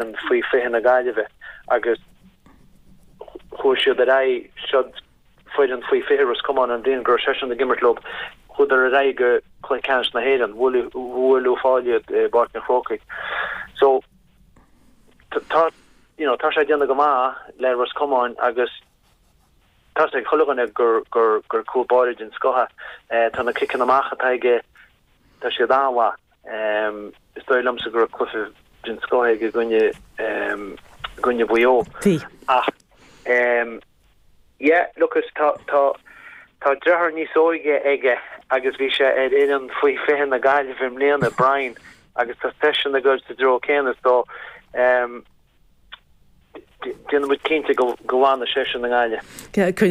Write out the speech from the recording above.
Faoi 20 na Gaillimhe agus chuaigh siad ar aghaidh, siod foireann faoi 20 Ros Comáin an bhliain go raibh seisean ag imirt leo, chuadar ar aghaidh go Cluiche Ceannais na hÉireann, bhuail Uíbh Fhailí iad i bPáirc an Chrócaigh. So tá, you know, tá sé ag déanamh go maith le Ros Comáin agus tá 's ag chuile dhuine gur, gur, gur cúl báire den scoth é. Tá na ciceanna amach atá aige, tá siad an-mhaith. Is dóigh liomsa go raibh cluiche den scoth aige i gcoinne i gcoinne Mhaigh Eo. Bhí. Ach yeah, look is tá tá tá deartháir níos óige aige agus bhí sé ar fhoireann faoi 20 na Gaillimhe i mbliana, Brian, agus tá seisean ag dul sa dtreo céanna so déanfaidh muid cinnte go go bhfanfaidh seisean i nGaillimh.